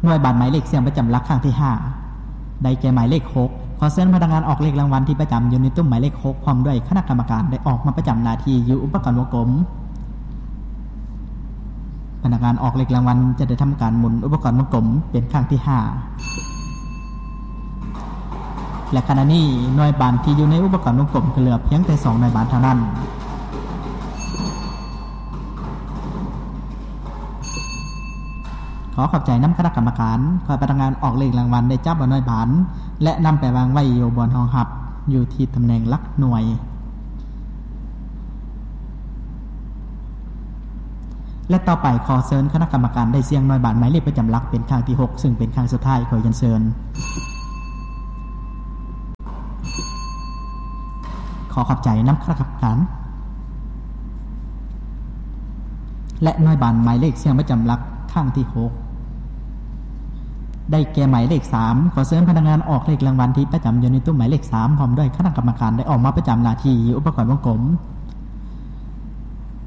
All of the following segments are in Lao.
ໜ່ວຍບານໝາຍເລກສ່ຽງປະຈຳຫຼັກຄັ້ງທີຫ້າ ໄດ້ແກ່ໝາຍເລກຫົກ. ຂໍເຊີນພະນັກງານອອກເລກລາງວັນທີ່ປະຈຳຢູ່ໃນຕຸ້ມໝາຍເລກຫົກ ພ້ອມດ້ວຍຄະນະກຳມະການ ໄດ້ອອກມາປະຈຳໜ້າທີ່ຢູ່ອຸປະກອນວົງກົມ. ພະນັກງານອອກເລກລາງວັນຈະໄດ້ທຳການໝູນອຸປະກອນວົງກົມເປັນຄັ້ງທີຫ້າ ແລະ ຂະນະນີ້ໜ່ວຍບານທີ່ຢູ່ໃນອຸປະກອນວົງກົມກໍເຫຼືອພຽງແຕ່ສອງໜ່ວຍບານເທົ່ານັ້ນ. ຂໍຂອບໃຈນຳຄະນະກຳມະການ. ຂ້ອຍພະນັກງານອອກເລກລາງວັນໄດ້ຈັບເອົາໜ່ວຍບານ ແລະ ນຳໄປວາງໄວ້ຢູ່ບ່ອນຮອງຮັບ ຢູ່ທີ່ຕຳແໜ່ງຫຼັກໜ່ວຍ. ແລະ ຕໍ່ໄປຂໍເຊີນຄະນະກຳມະການໄດ້ສ່ຽງໜ່ວຍບານໝາຍເລກປະຈຳຫຼັກເປັນຄັ້ງທີຫົກ ຊຶ່ງເປັນຄັ້ງສຸດທ້າຍ. ຂໍຮຽນເຊີນ. ຂໍຂອບໃຈນຳຄະນະກຳມະການ. ແລະ ໜ່ວຍບານໝາຍເລກສ່ຽງປະຈຳຫຼັກຄັ້ງທີຫົກ ໄດ້ແກ່ໝາຍເລກສາມ. ຂໍເຊີນພະນັກງານອອກເລກລາງວັນທີ່ປະຈຳຢູ່ໃນຕຸ້ມໝາຍເລກສາມ ພ້ອມດ້ວຍຄະນະກຳມະການ ໄດ້ອອກມາປະຈຳໜ້າທີ່ຢູ່ອຸປະກອນວົງກົມ.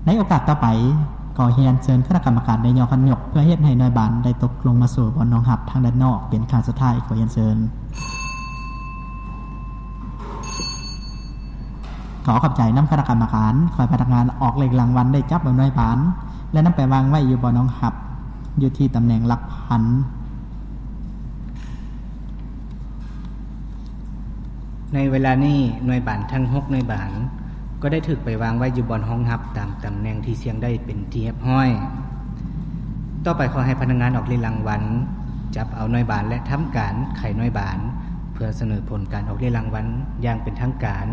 ໃນໂອກາດຕໍ່ໄປ, ຂໍຮຽນເຊີນຄະນະກຳມະການໄດ້ຍໍຄັນຍົກ ເພື່ອເຮັດໃຫ້ໜ່ວຍບານໄດ້ຕົກລົງມາສູ່ບ່ອນຮອງຮັບທາງດ້ານນອກເປັນຄັ້ງສຸດທ້າຍ. ຂໍຮຽນເຊີນ. ຂໍຂອບໃຈນຳຄະນະກຳມະການ. ຂ້ອຍພະນັກງານອອກເລກລາງວັນໄດ້ຈັບເອົາໜ່ວຍບານ ແລະ ນຳໄປວາງໄວ້ຢູ່ບ່ອນຮອງຮັບ ຢູ່ທີ່ຕຳແໜ່ງຫຼັກພັນ. ໃນເວລານີ້ໜ່ວຍບານທັງຫົກໜ່ວຍບານ ກໍໄດ້ຖືກໄປວາງໄວ້ຢູ່ບ່ອນຮອງຮັບຕາມຕຳແໜ່ງທີ່ສ່ຽງໄດ້ເປັນທີ່ຮຽບຮ້ອຍ. ຕໍ່ໄປຂໍໃຫ້ພະນັກງານອອກເລກລາງວັນ ຈັບເອົາໜ່ວຍບານ ແລະ ທຳການໄຂໜ່ວຍບານ ເພື່ອສະເໜີຜົນການອອກເລກລາງວັນຢ່າງເປັນທາງການ.